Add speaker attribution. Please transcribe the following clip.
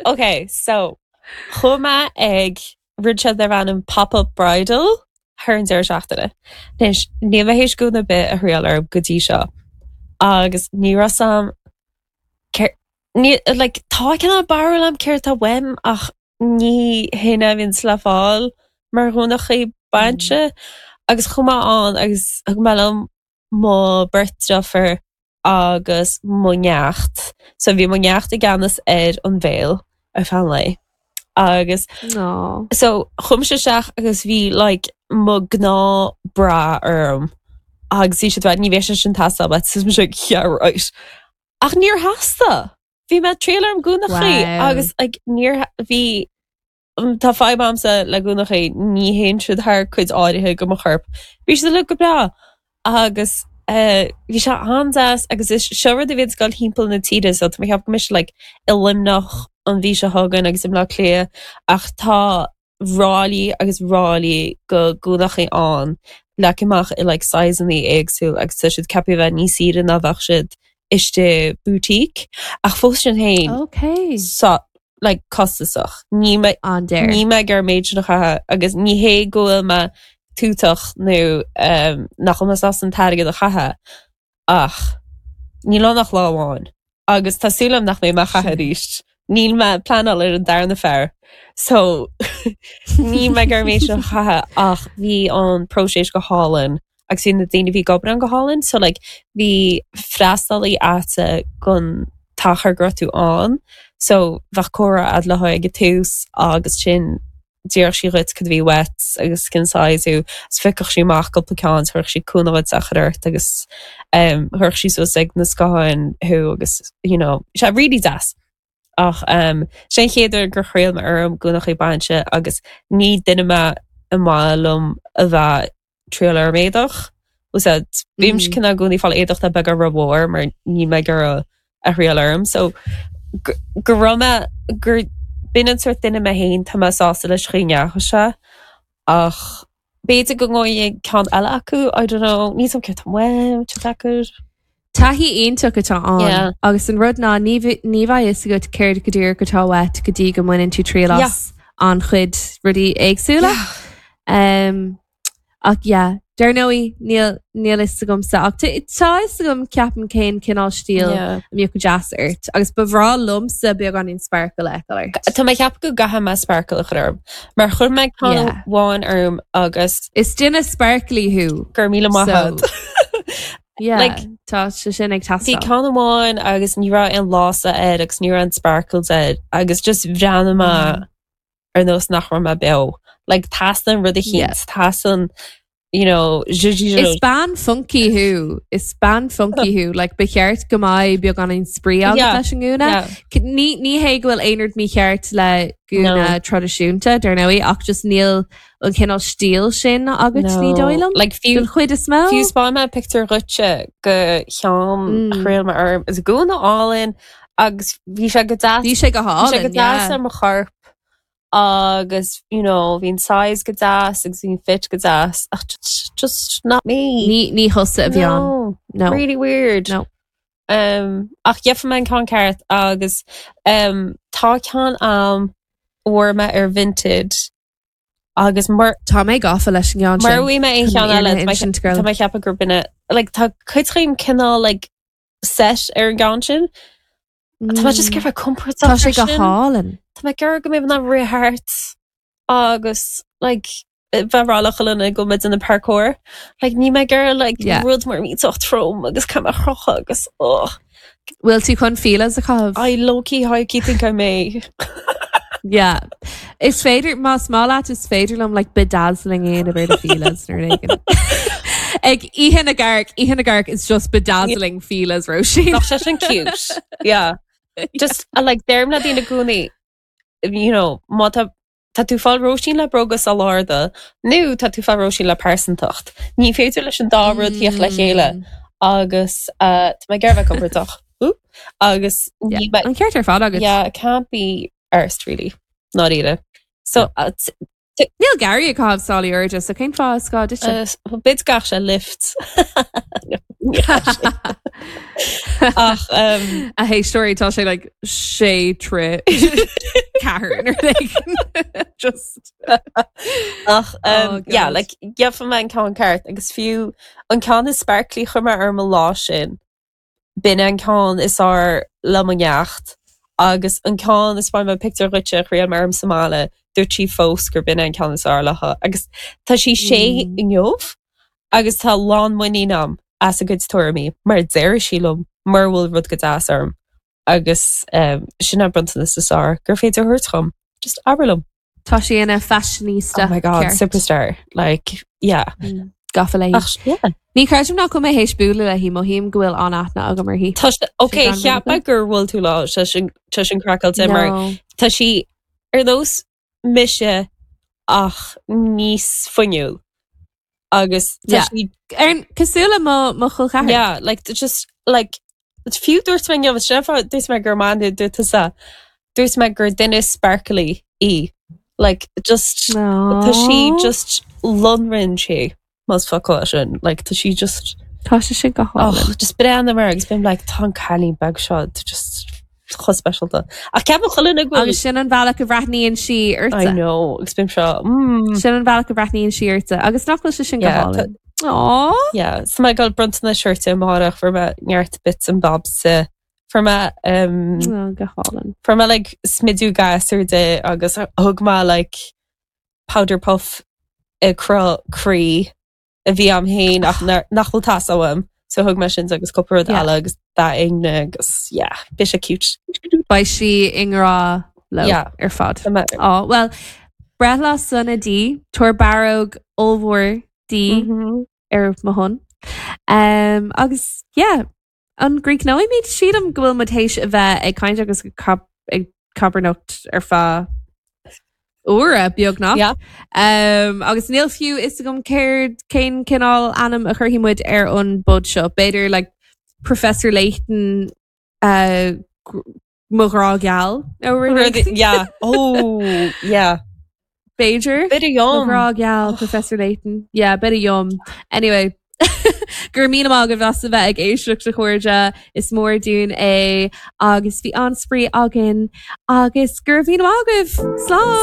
Speaker 1: Ok, so chuaigh mé ag rud seo darb ainm Pop-Up Bridal thar an deireadh seachtaine. Anois, níl mé théis gúna ar bith a thriail orm go dtí seo agus ní raibh 's a'm cér- ní, like, tá cineál barúil a'm céard atá uaim ach ní hin a bhíonns le fáil mar ghúnachaí bainse agus chuaigh mé ann agus thug mé liom mo beirt deirfiúr agus mo neacht. So bhí mo neacht i gceannas ar an bhéal ar feadh an lae. Agus
Speaker 2: Aww.
Speaker 1: so chuaigh mise isteach agus bhí like mo gnáth bra orm agus bhí siad ag rá ní bheidh sé sin teastáil uait so mise like yeah right. Ach níor theastaigh. Bhí mé ag triail orm gúnachaí
Speaker 2: Wow.
Speaker 1: agus like níor bhí Tá fadhb a'msa le gúnachaí, ní théann siad thar cuid áirithe de mo chorp. Bhí siad uilig go breá agus bhí sé an-deas agus is seo rud a bhíonns ag dul thimpeall na tíre so tá mé ag ceapadh go mbeidh sé like i Luimneach an mhí seo chugainn agus i mBleá Cliath ach tá ráillí agus ráillí de gúnachaí ann leagtha amach i like sizeanna éagsúil agus tá siad ceaptha a bheith níos saoire ná bheadh siad istigh boutique ach fós sin féin
Speaker 2: Ok.
Speaker 1: so like costasach. Níl mé
Speaker 2: An-daor.
Speaker 1: níl mé ag iarraidh an méid sin a chaitheamh agus ní hé go bhfuil mé tútach nó um, nach bhfuil mé sásta an t-airgead a chaitheamh ach níl ann ach lá amháin agus tá súil agam nach mbeidh mé á chaitheamh arís. Níl mé ag pleanáil ar an darna fear so níl mé ag iarraidh an méid sin a chaitheamh ach bhí an próiseas go hálainn agus bhí na daoine a bhí ag obair ann go hálainn so like bhí freastalaí a'dsa don t-achar go raibh tú ann so bheadh comhrá a'd leo ag an tús agus sin d'iarrfadh sí dhuit cad a bhí uait agus cén size thú agus phiocfadh sí amach cúpla ceann is chuirfeadh sí cúnamh dhuit a chur ort agus um chuirfeadh sí suas ag na scátháin thú agus you know sé really deas. Ach um sé an chéad uair gur thriail mé orm gúnachaí bainse agus ní duine mé a maith liom a bheith triail orm éadach. Úsáid bímse cineál i gcónaí ag fáil éadach atá beagán rómhór mar níl mé ag iarraidh a thriail orm. So go raibh mé gur b'in an sórt duine mé féin tá mé sásta leis chaoi a ndeachaigh sé ach b'fhéidir go ngabhfaidh ceann eile acu, I don't know, níl 's a'm céard tá uaim, tá deacair.
Speaker 2: Taithí iontach atá ann
Speaker 1: Yeah.
Speaker 2: agus an rud ná ní bh- ní bheidh fhios agat céard go díreach atá uait go dtí go mbaineann tú triail
Speaker 1: Yeah.
Speaker 2: as an-chuid rudaí éagsúla.
Speaker 1: Yeah.
Speaker 2: Um, Ach yeah, dar ndóigh, níl, níl fhios agamsa ach tá fhios agam ceapaim cén cineál stíl
Speaker 1: Yeah.
Speaker 2: a mbeadh go deas ort agus ba bhreá liomsa beagáinín sparkle a fheiceáil ort.
Speaker 1: Tá mé ag ceapadh go gcaithfidh mé sparkle a chur orm. Mar chuir mé ceann
Speaker 2: Yeah.
Speaker 1: amháin orm agus
Speaker 2: Is duine sparkly thú.
Speaker 1: Go raibh míle maith
Speaker 2: So,
Speaker 1: agat.
Speaker 2: yeah,
Speaker 1: Like,
Speaker 2: tá sé sin ag
Speaker 1: Bhí
Speaker 2: teastáil.
Speaker 1: ceann amháin agus ní raibh aon lása air agus ní raibh aon sparkles air agus just bhreathnaigh mé
Speaker 2: Mm.
Speaker 1: ar nós nach raibh mé beo. Like teastaíonn rud eicínt, teastaíonn, you know,
Speaker 2: Is bean funky thú, is bean funky thú, like ba cheart go mbeadh beagáinín spraoi agat
Speaker 1: Yeah,
Speaker 2: leis an ngúna.
Speaker 1: yeah.
Speaker 2: Ní, ní hé go bhfuil aon rud mícheart le gúna
Speaker 1: No.
Speaker 2: traidisiúnta, dar ndóigh, ach just níl an cineál stíl sin agat, ní
Speaker 1: No.
Speaker 2: dóigh liom.
Speaker 1: Like fiú,
Speaker 2: Den chuid is mó.
Speaker 1: fiú 'spáinfidh mé pictiúr dhuitse de cheann a thriail mé orm. Is gúna álainn agus bhí sé go deas.
Speaker 2: Bhí sé go
Speaker 1: Bhí sé go
Speaker 2: hálainn,
Speaker 1: deas
Speaker 2: yeah.
Speaker 1: ar mo chorp agus you know bhí an size go deas agus bhí an fit go deas ach just, just not me.
Speaker 2: Ní, ní thusa a bhí ann.
Speaker 1: No.
Speaker 2: No.
Speaker 1: Really weird.
Speaker 2: No.
Speaker 1: Um, ach gheobhaidh mé an ceann ceart agus um, tá ceann a'm a fuair mé ar Vinted agus mar
Speaker 2: Tá mé gafa leis an gceann
Speaker 1: Mura
Speaker 2: sin.
Speaker 1: bhfaighidh mé aon
Speaker 2: Chun
Speaker 1: cheann eile
Speaker 2: fhírinne a insint, girl.
Speaker 1: tá mé ag ceapadh gur b'in é like tá cuid díom cineál like set ar an gceann sin. Tá mé just ag iarraidh bheith compordach
Speaker 2: Tá sé go
Speaker 1: freisin.
Speaker 2: hálainn.
Speaker 1: Tá mé ag iarraidh go mbeidh mé in ann rith thart agus like bheith ag rá le chuile dhuine go bhfuil mé ag déanamh parkour. Like níl mé ag iarraidh like
Speaker 2: Yeah.
Speaker 1: rud mór millteach trom agus caithfidh mé a chrochadh agus ugh.
Speaker 2: Bhfuil tú chun Fila's a chaitheamh?
Speaker 1: I low-key high-key think I may.
Speaker 2: Yeah. Is féidir, más maith leat, is féidir liom like bedazzling a dhéanamh ar do Fila's nó rud éigin. Ag Oíche na gCarc, Oíche na gCarc is just bedazzling Fila's Róisín.
Speaker 1: Bheadh sé sin cute. Yeah. Just uh, like deirim le daoine i gcónaí, you know, má tá tá tú ag fáil Róisín le bróga sál-arda nó tá tú ag fáil Róisín le pearsantacht. Ní féidir leis an dá rud theacht le chéile agus uh, tá mé ag iarraidh bheith compordach. Ooh. Agus
Speaker 2: Yeah.
Speaker 1: ní mé-
Speaker 2: An ceart ar fad agat.
Speaker 1: Yeah, it can't be arsed really. Not either. So uh, t-
Speaker 2: Níl Gary ag caitheamh sálaí airde, so cén fáth is gá
Speaker 1: duitse? B'fhéidir go gcaithfidh sé lift. Ach
Speaker 2: um, A héisteoirí tá sé like sé troigh ceathair nó rud éigin. Just
Speaker 1: ach um,
Speaker 2: Oh,
Speaker 1: yeah,
Speaker 2: God.
Speaker 1: like gheobhaidh mé an ceann ceart agus fiú an ceann is sparkly chuir mé orm an lá sin. B'in an ceann is fearr le mo neacht agus an ceann a thaispeáin mé pictiúr dhuitse a thriail mé orm sa mbaile, dúirt sí fós gur b'in an ceann is fearr léi agus tá sí sé
Speaker 2: Mm.
Speaker 1: inniu agus tá lán muinín agam as a cuid tuairimí mar deir sí liom mura bhfuil rud go deas orm agus um, sin an bronntanas is fearr gur féidir a thabhairt dhom. Just abair liom.
Speaker 2: Tá sí ina fashionista.
Speaker 1: Oh my god,
Speaker 2: ceart.
Speaker 1: superstar. Like, yeah.
Speaker 2: Mm, Gafa léi.
Speaker 1: Ach, yeah.
Speaker 2: Ní chreidim nach bhfuil mé théis bualadh léi mothaím go bhfuil an-aithne agam uirthi.
Speaker 1: Tá sé, ok,
Speaker 2: gan
Speaker 1: cheap mé gur bhuail tú léi, tá sin, tá sin craiceáilte mar
Speaker 2: No.
Speaker 1: tá sí ar nós mise ach níos fuinniúil agus tá
Speaker 2: Yeah.
Speaker 1: sí
Speaker 2: Ar cosúil le mo mo chol ceathar.
Speaker 1: Yeah, like just like fiú dúirt mé inniu, sin an fáth dúirt mé gur man dúirt tusa dúirt mé gur duine sparkly í. Like just tá sí just lonrann sí más focal é sin. Like tá sí just
Speaker 2: Tá sé sin go
Speaker 1: oh,
Speaker 2: hálainn.
Speaker 1: just breathnaím air agus bím like tá an cailín beag seo tá just chomh speisialta. Ach ceapaim chuile dhuine go bhfuil
Speaker 2: Agus sin an bhealach a bhreathnaíonn sí
Speaker 1: I
Speaker 2: ortsa.
Speaker 1: know agus bím seo mm.
Speaker 2: Sin an bhealach a bhreathnaíonn sí ortsa agus nach bhfuil sé sin go
Speaker 1: Yeah, tá-
Speaker 2: hálainn. Aww.
Speaker 1: Yeah, so mé ag dul bronntanais a thabhairt di amárach fuair mé neart bits and bobs di. Fuair mé um,
Speaker 2: Oh, go hálainn.
Speaker 1: fuair mé like smidiú gasúir di agus thug mé like powder puff i cruth croí a bhí a'm féin ach nach bhfuil taos uaim. So thug mé sin di agus cúpla rud
Speaker 2: Yeah.
Speaker 1: eile agus dath ingne agus yeah, bhí sé cute.
Speaker 2: Beidh sí i ngrá leo
Speaker 1: Yeah.
Speaker 2: ar fad.
Speaker 1: Tá mé-
Speaker 2: Á, well, breithlá sona di, tabhair barróg ollmhór di
Speaker 1: Mhm.
Speaker 2: ar mo shon. Um, agus yeah, an gcríochnóimid sílim go bhfuil muid théis a bheith ag caint agus ag cab- ag cabarnacht ar feadh uaire beagnach.
Speaker 1: Yeah.
Speaker 2: Um, agus níl fiú fhios agam céard cén cineál ainm a chuirfidh muid ar an bpod seo. B'fhéidir like, Professor Layton uh, gr- mo ghrá geal nó rud
Speaker 1: Rud-
Speaker 2: éigin.
Speaker 1: Yeah. Oh, yeah.
Speaker 2: B'fhéidir.
Speaker 1: Bit of
Speaker 2: Mo
Speaker 1: yum.
Speaker 2: ghrá geal, Professor Layton. Yeah, bit of yum. Anyway, go raibh míle maith agaibh as a bheith ag éisteacht a chairde is mór dúinn é agus bhí an-spraoi againn agus go raibh míle maith agaibh. Slán!